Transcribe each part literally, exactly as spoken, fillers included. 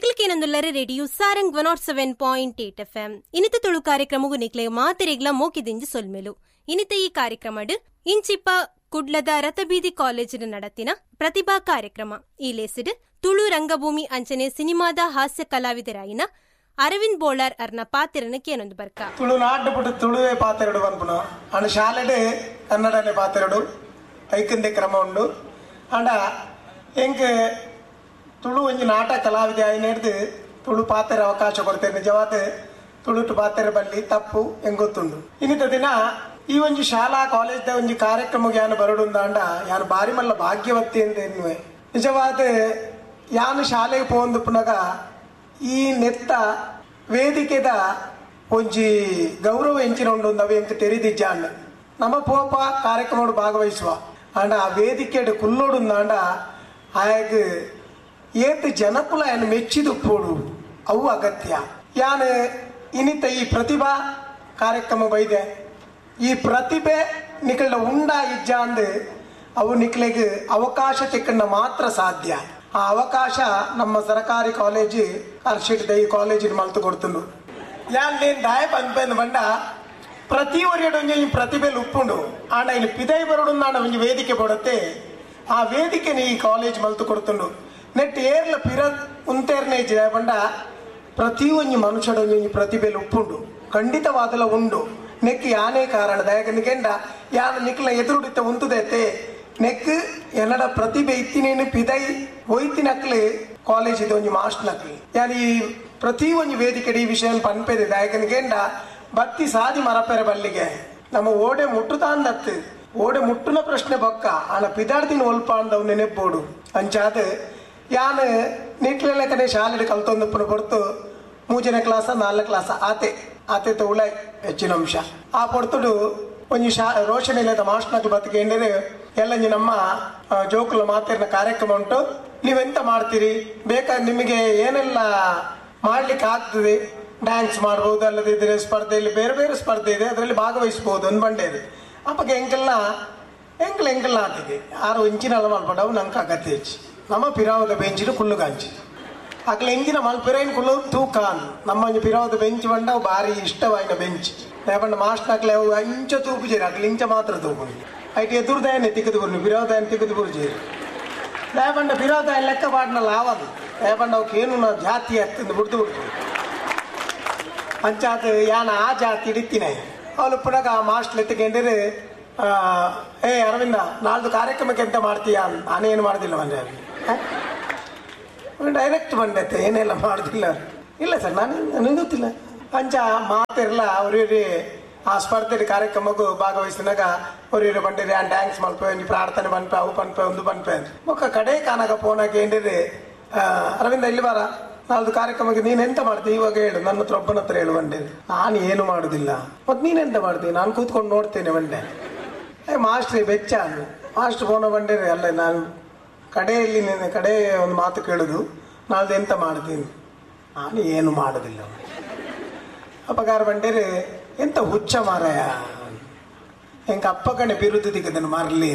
ನಿಕ್ಲಕೇನಂದುಲ್ಲರೆ radio Sarang one nought seven point eight F M. ಇನಿತ ತುಳು ಕಾರ್ಯಕ್ರಮಗೂ ನಿಕ್ಲೆ ಮಾತೆರೆಗ್ಲ ಮೋಕಿದಿಂಜಿ ಸೊಲ್ಮೆಲು. ಇನಿತ ಈ ಕಾರ್ಯಕ್ರಮಡ್ ಇಂಚಿಪ್ಪ ಕುಡ್ಲದ ರಥಬೀದಿ ಕಾಲೇಜಿನ ನಡತಿನ ಪ್ರತಿಭಾ ಕಾರ್ಯಕ್ರಮ. ಈ ಲೇಸಿಡ್ ತುಳು ರಂಗಭೂಮಿ ಅಂಚನೆ ಸಿನಿಮಾದ ಹಾಸ್ಯ ಕಲಾವಿದರಾಯಿನ ಅರವಿಂದ್ ಬೋಳಾರ್ ಅರ್ನ ಪಾತ್ರನ ಕೇನೊಂದು ಬರ್ಕ. ತುಳು ನಾಡು ಪುಟ್ಟು ತುಳುವೆ ಪಾತೆರಡು ಪನ್ಪುನ ಅಂಡ ಶಾಲೆಡ್ ಕನ್ನಡನೆ ಪಾತೆರಡು ಐಕಂದೆ ಕ್ರಮ ಉಂಡು. ಅಂಡ ಎಂಕ್ ತುಳು ಒಂಜಿ ನಾಟಕ ಕಲಾವಿದೆ ಆಯ್ನೆಡ್ದು ತುಳು ಪಾತೆರ ಅವಕಾಶ ಕೊಡ್ತೇನೆ. ನಿಜವಾದ ತುಳುಟು ಪಾತೆರ ಬಲ್ಲಿ ತಪ್ಪು ಎಂಗೊತ್ತುಂಡು. ಇನ್ನಿತ ದಿನ ಈ ಒಂಜಿ ಶಾಲಾ ಕಾಲೇಜ್ದ ಒಂಜಿ ಕಾರ್ಯಕ್ರಮಕ್ಕೆ ಯಾನು ಬರಡುಂದಾಂಡ ಯಾನು ಬಾರಿ ಮಲ್ಲ ಭಾಗ್ಯವತ್ತಿ ಅಂತ ಎನ್ನುವೆ. ನಿಜವಾದ ಯಾನು ಶಾಲೆಗೆ ಪೋಂದುಪ್ಪುನಗ ಈ ನೆತ್ತ ವೇದಿಕೆದ ಒಂಜಿ ಗೌರವ ಎಂಚಿನ ಉಂಡು ಅವು ಎಂಕ್ ತೆರಿದಿಜ್ಜಾಂಡ್. ನಮ್ಮ ಪೋಪ ಕಾರ್ಯಕ್ರಮ ಭಾಗವಹಿಸುವ ಆಂಡ ಆ ವೇದಿಕೆಡ್ ಕುಲ್ಲೋಡುಂದಾಂಡ ಆಯಗ್ ಏತ್ ಜನಕುಲ ಏನು ಮೆಚ್ಚಿದುಪ್ಪೋಡು ಅವು ಅಗತ್ಯ. ಯಾನು ಇನಿತ ಈ ಪ್ರತಿಭಾ ಕಾರ್ಯಕ್ರಮ ಬೈದೆ ಈ ಪ್ರತಿಭೆ ನಿಕಲ್ಡ ಉಂಡ ಇಜ್ಜಾಂದು ಅವು ನಿಕ್ಲೆಗ್ ಅವಕಾಶ ತಿಕ್ಕಂಡ ಮಾತ್ರ ಸಾಧ್ಯ. ಆ ಅವಕಾಶ ನಮ್ಮ ಸರಕಾರಿ ಕಾಲೇಜು ಅರ್ಶಿಟ್ದ ಈ ಕಾಲೇಜಿನ ಮಲ್ತು ಕೊಡ್ತುಂಡು. ಯಾನ್ ನೇನ್ ದಾಯ ಪನ್ಪೆಂದು ಬಂಡ ಪ್ರತಿ ಒರಿಯಡು ಒಂಜಿ ಪ್ರತಿಭೆಲು ಉಪ್ಪುಂಡು. ಆಂಡ ಇಲ್ಲಿ ಪಿದೈ ಬರಡುಂದಾಂಡ ಒಂಜಿ ವೇದಿಕೆ ಕೊಡತ್ತೆ. ಆ ವೇದಿಕೆನ ಈ ಕಾಲೇಜ್ ಮಲ್ತು ಕೊಡ್ತುಂಡು. ನೆಟ್ ಏರ್ಲ ಪಿರ ಉಂತೇರ್ನೆ ಬಂಡ ಪ್ರತಿ ಒಂಜಿ ಮನುಷ್ಯಡೊಂಜಿ ಒಂಜಿ ಪ್ರತಿಭೆಲು ಉಪ್ಪುಂಡು, ಖಂಡಿತವಾದಲ ಉಂಡು. ನೆಕ್ ಯಾನೇ ಕಾರಣ ದಯಕಂದ ಯಾನ ನಿಕ್ಲ ಎದುರುಡಿತ್ತ ಉಂತುದೈತೆ ನೆಕ್ ಎನ್ನಡ ಪ್ರತಿಭೆ ಇತ್ತಿನೇನು ಪಿದೈ ಒಯ್ತಿನಕ್ಲೆ ಕಾಲೇಜ್ ಇದೆ ಒಂಜಿ ಮಾಸ್ಟರ್ ನಕ್ಲಿ. ಯಾನ್ ಈ ಪ್ರತಿ ಒಂಜಿ ವೇದಿಕೆ ಈ ವಿಷಯ ಪನ್ಪೆದೆ ದಯಕಂದ ಬತ್ತಿ ಸಾದಿ ಮರಪೆರೆ ಬಲ್ಲಿಗೆ ನಮ್ಮ ಓಡೆ ಮುಟ್ಟುತಾಂದತ್ತು ಓಡೆ ಮುಟ್ಟುನ ಪ್ರಶ್ನೆ ಬೊಕ್ಕ ಆನ ಪಿದಾಡ್ತಿನ ಒಲ್ಪ ಅಂದವು ನೆನೆಪ್ಪೋಡು. ಅಂಚಾದ ಯಾನ್ ನೀಟ್ಲೆಕ್ಕನೆ ಶಾಲೆಡ್ ಕಲ್ತೊಂದುಪ್ಪುನ ಪೊರ್ತು ಮೂಜನೇ ಕ್ಲಾಸ ನಾಲ್ಕು ಕ್ಲಾಸ ಆತೆ ಆತೆ ತೌಳ ಹೆಚ್ಚಿನ ಅಂಶ. ಆ ಪೊರ್ತುಡು ಒಂಜಿ ಶಾ ರೋಷನಿಲ್ಲದ ಮಾಸ್ಟರ್ನಕ್ಲು ಬತ್ತಿಕೆಂದರೆ ಎಲ್ಲಂಜಿ ನಮ್ಮ ಜೋಕುಲ ಮಾತಿರ್ನ ಕಾರ್ಯಕ್ರಮ ಉಂಟು, ನೀವೆಂತ ಮಾಡ್ತೀರಿ ಬೇಕಾದ್ರೆ ನಿಮಗೆ ಏನೆಲ್ಲ ಮಾಡ್ಲಿಕ್ಕೆ ಆಗ್ತದೆ, ಡ್ಯಾನ್ಸ್ ಮಾಡ್ಬೋದು, ಅಲ್ಲದಿದ್ದರೆ ಸ್ಪರ್ಧೆಯಲ್ಲಿ ಬೇರೆ ಬೇರೆ ಸ್ಪರ್ಧೆ ಇದೆ ಅದರಲ್ಲಿ ಭಾಗವಹಿಸ್ಬೋದು ಒಂದು ಬಂಡೇರು. ಅಪ್ಪಗೆ ಎಂಕೆಲ್ಲ ಎಂಕಲ್ ಎಂಕೆಲ್ಲ ಆತಿದೆ ಆರು ಇಂಚಿನೆಲ್ಲ ಮಲ್ಪಡವು ನಂಗೆ ಅಗತ್ಯ ಹೆಚ್ಚು. ನಮ್ಮ ಪಿರಾವದ ಬೆಂಚಿನ ಕುಳ್ಳುಗಾಂಚಿ ಅಕ್ಲ ಎಂಜಿನ ಮಲ್ಪಿರೈನ್ ಕುಳ್ಳು ತೂಕಾನ್ ನಮ್ಮ ಒಂಜಿ ಪಿರಾವದ ಬೆಂಚ್ ಬಂಡ ಭಾರಿ ಇಷ್ಟವಾಯಿನ ಬೆಂಚ್. ಲೇಪಂಡ ಮಾಸ್ಟರ್ ಅಕ್ಲೆ ಅವು ಅಂಚ ತೂಪು ಜೇರಿ ಅಕ್ಲೆ ಇಂಚ ಮಾತ್ರ ತೂಪು ಐಟ್ ಎದುರುದಾಯನೆ ತಿಕ್ಕದು ಬುರ್ನಿ ಪಿರಾವದಾಯನ ತಿಕ್ಕದು ಬುರು ಜೇರಿ ಲೇಪಂಡ ಪಿರಾವದಾಯ ಲೆಕ್ಕ ಪಾಡ್ನ ಲಾವದು ಲೇಪಂಡ ಅವಕ್ಕೆ ಏನು ಜಾತಿ ಹತ್ತಿಂದು ಬಿಡ್ದು ಬಿಡ್ತು ಅಂಚಾತ ಯಾನ ಆ ಜಾತಿ ಹಿಡಿತೀನಿ. ಅವಳು ಪುನಃ ಆ ಮಾಸ್ಟರ್ ಎತ್ತಿಕೊಂಡಿರು ಏ ಅರವಿಂದ ನಾಳ್ದು ಕಾರ್ಯಕ್ರಮಕ್ಕೆ ಎಂತ ಮಾಡ್ತೀಯಾ, ನಾನೇನು ಮಾಡೋದಿಲ್ಲ ಬಂದೆ ಡೈರೆಕ್ಟ್ ಬಂದೈತೆ ಏನೆಲ್ಲ ಮಾಡೋದಿಲ್ಲ. ಇಲ್ಲ ಸರ್ ನಾನು ನನಗೆ ಗೊತ್ತಿಲ್ಲ ಅಂಚ ಮಾತಿರಲ್ಲ. ಅವ್ರಿಗೆ ಆ ಸ್ಪರ್ಧೆ ಕಾರ್ಯಕ್ರಮಕ್ಕೂ ಭಾಗವಹಿಸಿನಾಗ ಅವ್ರಿಗೆ ಬಂದಿರಿ ಆ ಡ್ಯಾನ್ಸ್ ಮಲ್ಪೆ ಒಂಜಿ ಪ್ರಾರ್ಥನೆ ಪನ್ಪೆ ಅವು ಪನ್ಪೆ ಒಂದು ಪನ್ಪೆ ಮೊಕ್ಕ ಕಡೆ ಕಾನಾಗ ಫೋನ್ ಹಾಕಿ ಅರವಿಂದ ಇಲ್ಲಿ ಬಾರ ನಾಳ್ದು ಕಾರ್ಯಕ್ರಮಕ್ಕೆ ನೀನು ಎಂತ ಮಾಡ್ತೀವಿ ಇವಾಗ ಹೇಳು, ನನ್ನ ಹತ್ರ ಒಬ್ಬನ ಹತ್ರ ಹೇಳು ಬಂಡೆ. ನಾನು ಏನು ಮಾಡುದಿಲ್ಲ. ಮತ್ತು ನೀನೆಂತ ಮಾಡ್ತೀನಿ? ನಾನು ಕೂತ್ಕೊಂಡು ನೋಡ್ತೇನೆ ಬಂಡೆ. ಏ ಮಾಸ್ಟ್ರಿ ಬೆಚ್ಚ ಅಂದು ಮಾಸ್ಟ್ರ್ ಫೋನ ಬಂಡೇರಿ ಅಲ್ಲ ನಾನು ಕಡೆಯಲ್ಲಿ ನಿನ್ನ ಕಡೆ ಒಂದು ಮಾತು ಕೇಳುದು, ನಾಳ್ದು ಎಂತ ಮಾಡ್ತೀನಿ? ನಾನು ಏನು ಮಾಡೋದಿಲ್ಲ. ಅಪ್ಪಗಾರ ಬಂಡೇರಿ ಎಂತ ಹುಚ್ಚ ಮಾರಾಯ, ಎಂಕ ಅಪ್ಪ ಕಣೆ ಬಿರುದು ದಿಕ್ಕದನ್ನು ಮಾರಲಿ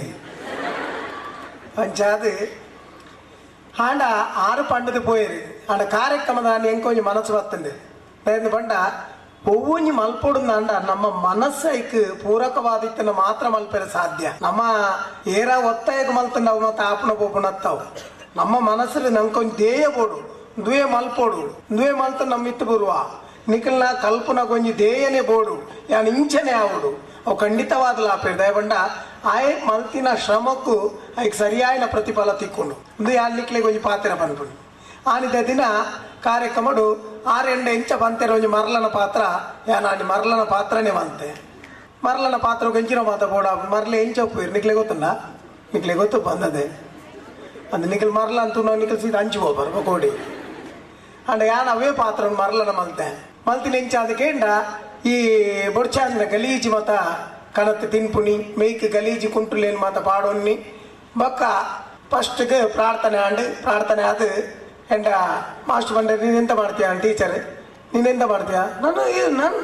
ಅಂಚಾದ ಆಂಡ ಆರು ಪಂಡದು ಪೋಯಿರಿ. ಆಂಡ ಕಾರ್ಯಕ್ರಮದ ಎಂಕೊಂಜಿ ಮನಸ್ಸು ಬರ್ತಂದೆ ಬಂಡ ಒವ್ವೊಂಜಿ ಮಲ್ಪೊಡುಂದಾಂಡ ನಮ್ಮ ಮನಸ್ಸೈಕ್ ಪೂರಕವಾದಿತ್ತನ ಮಾತ್ರ ಮಲ್ಪೆರೆ ಸಾಧ್ಯ. ನಮ್ಮ ಏರ ಒತ್ತಾಯಕ್ಕೆ ಮಲ್ತಂಡ ಅವು ಮತ್ತೆ ಆಪುಣ ಪೋಪುಣ ಹತ್ತಾವು. ನಮ್ಮ ಮನಸ್ಸಲ್ಲಿ ನಂಕೊಂಜಿ ಧ್ಯೇಯ ಬೋಡು, ದುವೆ ಮಲ್ಪೊಡು, ದುವೆ ಮಲ್ತ ನಮ್ಮ ಇತ್ತು ಬರುವ ನಿಖಲ್ನ ಕಲ್ಪನ ಕೊಂಜಿ ಧ್ಯೇಯನೇ ಬೋಡು, ಯಾನ್ ಇಂಚನೆ ಆವಡು ಅವು ಖಂಡಿತವಾದ ಲಾಪೇರು. ದಯಬಂಡ ಆಯ್ ಮಲ್ತಿನ ಶ್ರಮಕ್ಕೂ ಐಕ್ ಸರಿಯಾಯಿನ ಪ್ರತಿಫಲ ತಿಕ್ಕೊಂಡು ಒಂದು ಯಾನ್ ನಿಕ್ಲೆ ಕೊಂಜಿ ಪಾತ್ರ ಪನ್ಪುಂಡು. ಆನಿದ ದಿನ ಕಾರ್ಯಕ್ರಮಡು ಆರೆಂಡ ಇಂಚ ಬಂತೆರ ಒಂಜಿ ಮರಲನ ಪಾತ್ರ ಯಾನ್ ಮರಲನ ಪಾತ್ರನೇ ಬಂತೆ. ಮರಲನ ಪಾತ್ರ ಕೊಂಚಿನ ಮಾತ ಬೋಡ ಮರಲೆ ಎಂಚ ಒಪ್ಪುವಿರು ನಿಕ್ಲೆ ಗೊತ್ತುಂಡ? ನಿಕ್ಲೆ ಗೊತ್ತು ಬಂದದೆ ಅಂದ್ ನಿಖಲ್ ಮರಲ ಅಂತೂ ನಾವು ನಿಖಲ್ ಸೀದಾ ಅಂಚು ಹೋಗ್ಬಾರ ಕೋಡಿ. ಅಂಡ ಯಾನ್ ಅವೇ ಪಾತ್ರ ಮರಲನ ಮಲ್ತೆ ಮಲ್ತಿನ ಎಂಚ ಅದಕ್ಕೇಂಡ ಈ ಬೊಡ್ಚಾಂದ್ರ ಗಲೀಜಿ ಮತ ಕಣತ್ ತಿನ್ಪುನಿ ಮೇಯ್ಕ್ ಗಲೀಜಿ ಕುಂಟುಲೇನು ಮಾತ ಪಾಡೊನ್ನಿ ಬೊಕ್ಕ ಫಸ್ಟ್ಗೆ ಪ್ರಾರ್ಥನೆ ಆಂಡ್ ಪ್ರಾರ್ಥನೆ ಅದು ಎಂಡ ಮಾಸ್ಟರ್ ಬಂಡೆ ನೀನೆಂತ ಮಾಡ್ತೀಯ ಟೀಚರ್ ನೀನೆಂತ ಮಾಡ್ತೀಯ? ನಾನು ನಾನು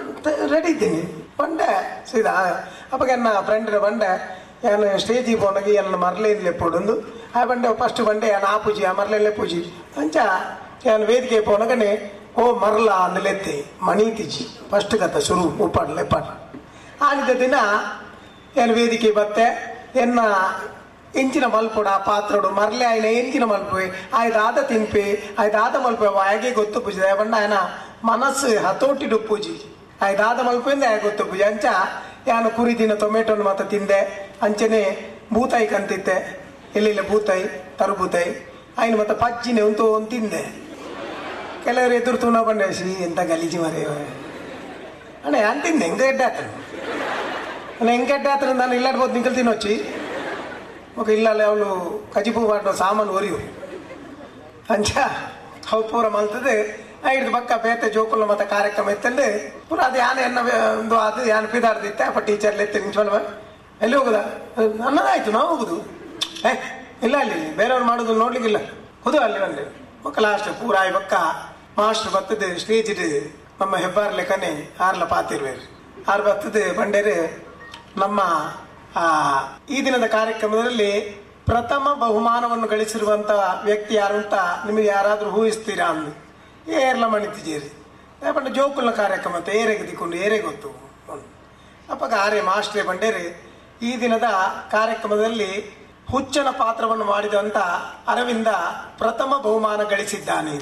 ರೆಡಿ ಇದ್ದೀನಿ ಬಂಡೆ ಸೀದಾ ಅಪ್ಪಗೆ ನನ್ನ ಫ್ರೆಂಡ್ ಬಂಡೆ ನಾನು ಸ್ಟೇಜಿಗೆ ಪೋನಾಗ ಎಲ್ಲ ಮರಲೇನು ಲೆಪ್ಪೊಡೊಂದು ಆ ಬಂಡೆ ಫಸ್ಟ್ ಬಂಡೆ ಆ ಪೂಜಿ ಆ ಮರಲೆಲ್ಲೇ ಪೂಜಿ ಅಂಚ ಯಾನ್ ವೇದಿಕೆ ಪೋನಗನೆ ಓ ಮರಲ ಅಂದಲೆತ್ತೆ ಮಣೀತಿಜಿ ಫಸ್ಟ್ ಕಥ ಶುರು ಉಪ್ಪಾಡ್ಲೆ ಪಾಡ ಆನಿದ ದಿನ ಏನು ವೇದಿಕೆ ಬತ್ತೆ ಎನ್ನ ಎಂಚಿನ ಮಲ್ಪುಡ ಪಾತ್ರಡು ಮರಲೆ ಆಯ್ನ ಎಂಚಿನ ಮಲ್ಪೆ ಆಯ್ದಾದ ತಿನ್ಪೆ ಆಯ್ದಾದ ಮಲ್ಪೆ ವಾಯಗೆ ಗೊತ್ತು ಪೂಜೆ ಬಣ್ಣ ಆಯನ ಮನಸ್ಸು ಹತೋಟಿಡು ಪೂಜಿ ಆಯ್ದಾದ ಮಲ್ಪೆಂದ ಆಯ ಗೊತ್ತು ಪೂಜೆ ಅಂಚ ಯಾನು ಕುರಿ ದಿನ ಟೊಮೆಟೊನು ಮಾತ್ರ ತಿಂದೆ ಅಂಚನೆ ಬೂತಾಯಿ ಕಂತಿತ್ತೆ ಎಲ್ಲೆಲ್ಲ ಬೂತಾಯಿ ತರುಬೂತಾಯಿ ಆಯ್ನ ಮತ್ತೆ ಪಜ್ಜಿನೆ ಉಂತು ಒಂದು ತಿಂದೆ. ಕೆಲವರು ಎದುರು ತೂನ ಬಂಡೆ ಸಿ ಎಂತ ಗಲೀಜು ಮರೆ ಅಣ್ಣ ಯಾನ್ ತಿಂದೆ ಹೆಂಗೆ ಎಡ್ಡೆ ಆತನು ಅಣ್ಣ ಹೆಂಗೆ ಎಡ್ಡೆ ಆತನ ನಾನು ಇಲ್ಲಾಡ್ಬೋದು ನಿಂಕಲ್ ತಿನ್ನೋಚಿ ఒక ಇಲ್ಲಲ್ಲ ಅವಳು ಕಜಿಪು ಮಾಡೋ ಸಾಮಾನು ಒರಿಯು ಅಂಚ ಅವು ಪೂರ ಮಲ್ತದೆ ಐದು ಪಕ್ಕ ಬೇತೆ ಜೋಕುಲ ಮತ್ತೆ ಕಾರ್ಯಕ್ರಮ ಇತ್ತಂದೆ ಪೂರ ಅದು ಯಾನೆ ಎನ್ನ ಒಂದು ಅದು ಯಾನ್ ಪಿದಾಡ್ದಿತ್ತೆ ಅಪ್ಪ ಟೀಚರ್ ಎತ್ತಿ ನಿಂಚೋಲ್ವ ಎಲ್ಲಿ ಹೋಗುದಾ ಅನ್ನದಾಯ್ತು ನಾವು ಹೋಗುದು ಏ ಇಲ್ಲ ಅಲ್ಲಿ ಬೇರೆಯವ್ರು ಮಾಡೋದು ನೋಡ್ಲಿಕ್ಕಿಲ್ಲ ಹೌದು ಅಲ್ಲಿ ಬಂದೆ ಮಕ್ಕ ಲಾಸ್ಟ್ ಪೂರ ಆಯ್ ಪಕ್ಕ ಮಾಸ್ಟರ್ ಬರ್ತದೆ ಸ್ಟೇಜ್ ನಮ್ಮ ಹೆಬ್ಬಾರ್ ಲೆಕ್ಕನೆ ಆರ್ಲ ಪಾತಿರ್ವೇರು ಆರು ಬರ್ತದೆ ಬಂಡೇರು ನಮ್ಮ ಈ ದಿನದ ಕಾರ್ಯಕ್ರಮದಲ್ಲಿ ಪ್ರಥಮ ಬಹುಮಾನವನ್ನು ಗಳಿಸಿರುವಂಥ ವ್ಯಕ್ತಿ ಯಾರು ಅಂತ ನಿಮಗೆ ಯಾರಾದರೂ ಊಹಿಸ್ತೀರಾ ಅಂದು ಏರ್ಲ ಮಣಿತಿಜೇರಿ ಪಂಡ ಜೋಕುಲ್ನ ಕಾರ್ಯಕ್ರಮ ಅಂತ ಏರೆಗೆ ದಿಕ್ಕೊಂಡು ಏರೇ ಗೊತ್ತು ಅಪ್ಪಗ ಆರೆ ಮಾಸ್ಟ್ರೇ ಬಂಡೇರಿ ಈ ದಿನದ ಕಾರ್ಯಕ್ರಮದಲ್ಲಿ ಹುಚ್ಚನ ಪಾತ್ರವನ್ನು ಮಾಡಿದಂಥ ಅರವಿಂದ ಪ್ರಥಮ ಬಹುಮಾನ ಗಳಿಸಿದ್ದಾನೆ.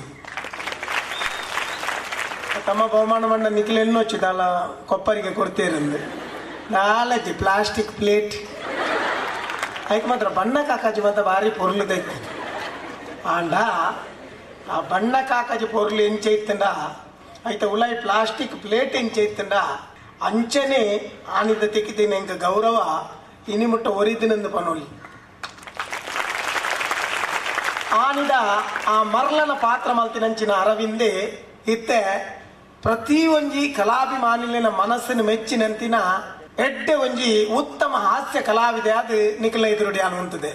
ತಮ್ಮ ಬಹುಮಾನವನ್ನು ನಿಖಿಲೆನ್ನೊಚ್ಚಿದಲ್ಲ ಕೊಪ್ಪರಿಗೆ ಕೊಡ್ತೀರಂದು ನಾಲಜಿ ಪ್ಲಾಸ್ಟಿಕ್ ಪ್ಲೇಟ್ ಅದಕ್ಕೆ ಮಾತ್ರ ಬಣ್ಣ ಕಾಕಾಜಿ ಮಾತ್ರ ಭಾರಿ ಪೊರ್ಲು ದೈತು ಆಂಡ ಆ ಬಣ್ಣ ಕಾಕಾಜಿ ಪೊರ್ಲು ಎಂಚೈತಂಡ ಆಯ್ತ ಉಲಾಯಿ ಪ್ಲಾಸ್ಟಿಕ್ ಪ್ಲೇಟ್ ಎಂಚೈತಂಡ ಅಂಚನೆ ಆನಿದ ತೆಕ್ಕಿದ್ದೀನಿ ಎಂಕ ಗೌರವ ಇನಿ ಮುಟ್ಟ ಒರಿದಿನಂದು ಪನೋಲಿ ಆನಿದ ಆ ಮರ್ಲನ ಪಾತ್ರ ಮಲ್ತಿನಂಚಿನ ಅರವಿಂದೆ ಇತ್ತೆ ಪ್ರತಿ ಒಂಜಿ ಕಲಾಭಿಮಾನಿಲಿನ ಮನಸ್ಸಿನ ಮೆಚ್ಚಿನಂತಿನ ಎಡ್ಡೆ ಒಂಜಿ ಉತ್ತಮ ಹಾಸ್ಯ ಕಲಾವಿದೆ ಅದು ನಿಖಲ ಎದುರುಡಿ ಅನ್ನುವಂಥದ್ದೇ.